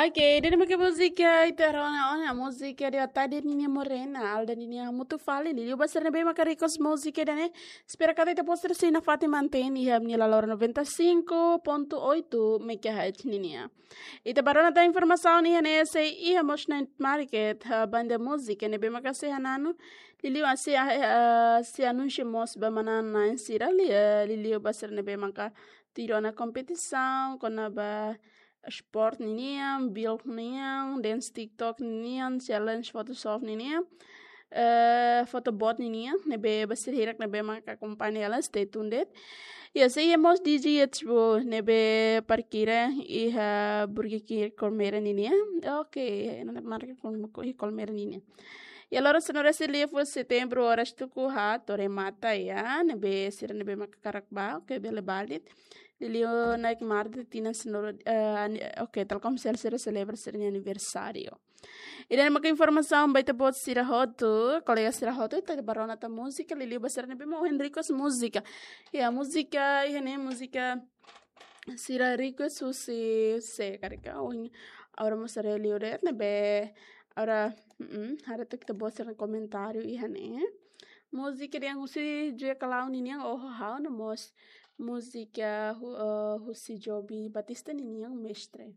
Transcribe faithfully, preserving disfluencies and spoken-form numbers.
Ok, ida-ne'e mak múzika ita rona ona, múzika de Atade ninia Morena, Alda ninia Mutu Fali, liuliu ba sira ne'ebé maka request múzika ida-ne'e. Espera katak ita-boot sira sei nafatin mantein iha ami-nia Lalora noventa e cinco ponto oito megahertz ninia. Ita bá rona tan informasaun iha ne'e, sei iha mós night market, ah, banda múzika ne'ebé maka sei hananu, liuliu ah, sei, ah, sei anunsia mós ba manán-na'in sira li-, ah, liuliu ba sira ne'ebé maka tuir ona kompetisaun, kona-ba sport ninian, build ninian, dance TikTok ninian, challenge Photoshop ninian, eh, photobot ninian, ne'ebé ba sira hirak ne'ebé maka akompaña hela, stay tuned. Ya, sei iha mós D J H B ne'ebé parkira iha Burger King Colmera ninian. Ok, night market Col-, Col-, Colmera ninian. Ya, loron sanulu-resin-lima fulan setembru, oras tuku haat to'o remata ya, ne'ebé sira ne'ebé maka hakarak bá, ok, bele bá de'it. Liuliu night market tinan sanulu, eh, ani-, ok, Telkomsel sira selebra sira-nia aniversáriu. Ida-ne'e maka informasaun ba ita-boot sira hotu, kolega sira hotu, ita bá rona tan múzika, liuliu ba sira ne'ebé mak ohin request múzika. Ya, múzika, iha ne'e múzika sira request husi sé karik ka, ohin, agora mós haree liu de'it ne'ebé, agora, mm, haree took ita-boot sira-nia komentáriu iha ne'e. Múzika ida-ne'e husi Joe Kalau ninian, Oho Ha'u, no mós múzika hu-, eh, husi Joby Batista ninian, Mestre.